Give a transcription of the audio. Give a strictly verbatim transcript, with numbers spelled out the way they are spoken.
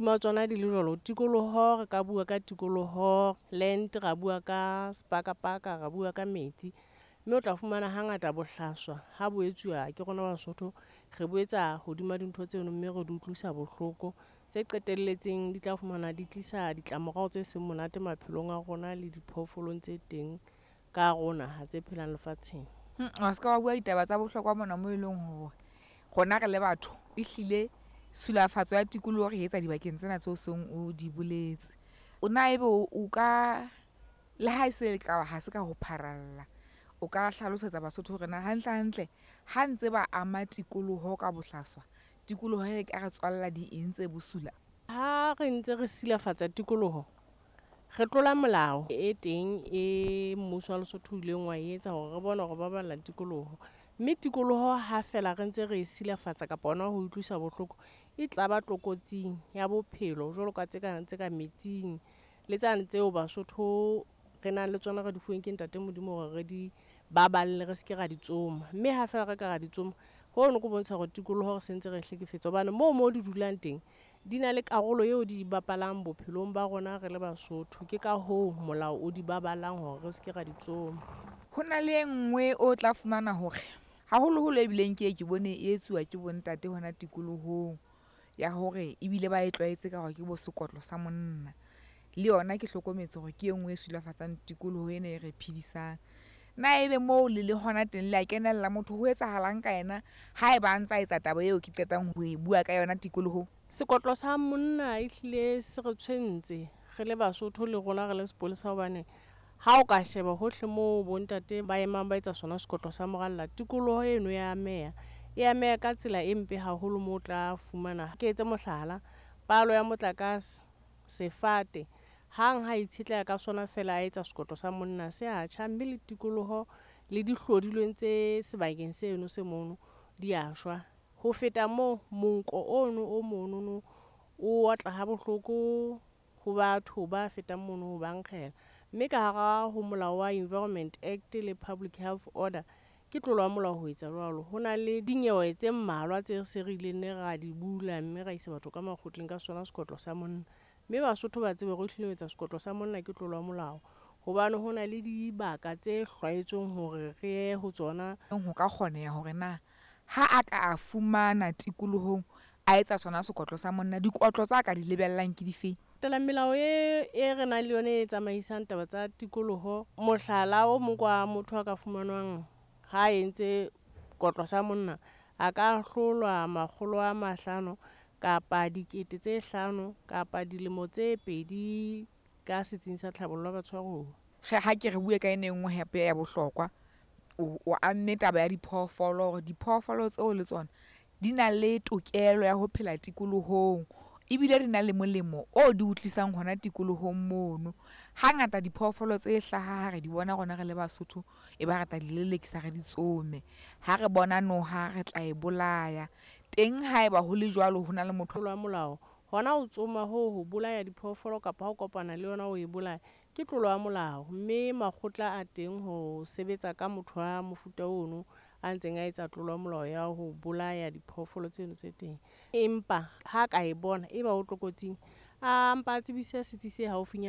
Tsona di le jwalo, tikoloho re ka bua ka tikoloho, land, ra bua ka sepakapaka, ra bua ka metsi. Mme o tla fumana hangata bohlaswa ha bo etsuwa ke rona Basotho, re bo etsa hodima dintho tseno mme re di utlwisa bohloko. Tse qetelletseng di tla fumana di tlisa ditlamorao tse seng monate maphelong a rona le diphoofolong tse teng ka hare ho naha tse phelang lefatsheng. Wa ska wa bua ditaba tsa bohlokwa mona moo e leng hore rona re le batho ehlile tshilafatso ya tikoloho re etsa dibakeng tsena tseo seng o di boletse. O na ebe o ka, le ha e se ka ha se ka ho pharalla, o ka hlalosetsa Basotho hore na hantle hantle ha ntse ba ama tikoloho ka bohlaswa, tikoloho e ka re tswalla di eng tse bosula? Ha re ntse re silafatsa tikoloho, re tlola molao e teng e mmuso wa Lesotho o ileng wa etsa hore re bone hore baballa tikoloho. Mme tikoloho ha fela re ntse re e silafatsa kapa hona ho utlwisa bohloko, e tla ba tlokotsing ya bophelo jwalo ka tse kang tse ka metsing le tsane tseo Basotho re nang le tsona re di fuweng ke ntate Modimo hore re di baballe, re seke ra di tsoma. Mme ha fela re ka ra di tsoma, hono ke bontsha hore tikoloho re sentse re hlekefetsa hobane moo mo di dulang teng, di na le karolo eo di bapalang bophelong ba rona re le Basotho. Ke ka hoo molao o di baballang hore re seke ra di tsoma. Ho na le e nngwe o tla fumana hore haholoholo ebileng ke ye ke bone e etsuwa ke bo ntate hona tikolohong ya hore ebile ba e tlwaetse ka hore ke bo sekotlo sa monna. Le yona ke hlokometse hore ke e nngwe e silafatsang tikoloho ena e re phedisang. Na ebe moo le le hona teng le a kenella, motho ho etsahalang ka yena haeba a ntsa etsa taba eo ke qetang ho e bua ka yona tikolohong? Sekotlo sa monna ehlile se re tshwentse re le Basotho le rona re le sepolesa hobane ha o ka sheba hohle moo bo ntate ba emang ba etsa sona sekotlo sa moralla, tikoloho eno ya ameha. E ameha ka tsela e mpe haholo moo o tla fumana, ke etse mohlala, palo ya motlakase, sefate, hang ha itshetleha ka sona fela a etsa sekotlo sa monna se a tjha, mme le tikoloho le dihlodilweng tse sebakeng seno se mono di a shwa. Ho feta moo, monko ono o monono o otla ha bohloko ho batho ba fetang mono ho ba nkgela. Mme ka hara ho molao wa Environment Act le Public Health Order, ke tlolo ya molao ho etsa jwalo. Ho na le dinyewe tse mmalwa tse se re ileng ne ra di bula mme ra isa batho ka makgotleng ka sona sekotlo sa monna. Mme Basotho ba tsebe hore ehlile ho etsa sekotlo sa monna ke tlolo ya molao. Hobane ho na le dibaka tse hlwaetsweng hore re ye ho tsona. Ho ka kgoneha hore na ha a ka a fumana tikolohong a etsa sona sekotlo sa monna, dikotlo tsa ka di lebellang ke difeng? Latela melao e, e re nang le yona e tsamaisang taba tsa tikoloho. Mohlala o mong kwa motho a ka fumanwang ha entse kotlo sa monna, a ka ahlolwa makgolo a mahlano kapa dikete tse hlano kapa dilemo tse pedi ka setsing sa tlhabollo ya batshwaruwa. Ha ke re bue ka ena e nngwe hape ya bohlokwa, o, o amme taba ya diphoofolo hore diphoofolo tseo le tsona di na le tokelo ya ho phela tikolohong, ebile di na le molemo o di o tlisang hona tikolohong mono. Hangata diphoofolo tse hlaha ha re di bona rona re le Basotho, e ba re tla di lelekisa re di tsome. Ha re bona noha re tla e bolaya. Teng haeba ho le jwalo ho na le motho wa molao, hona ho tsoma hoo ho bolaya diphoofolo kapa ha o kopana le yona o e bolaya, ke tlolo ya molao. Mme makgotla a teng ho sebetsa ka motho wa mofuta ono a ntseng a etsa tlolo ya molao ya ho bolaya diphoofolo tseno tse teng. Empa ha ka e bona e ba o tlokotsing, a mpa a tsebise setsi se haufinyana.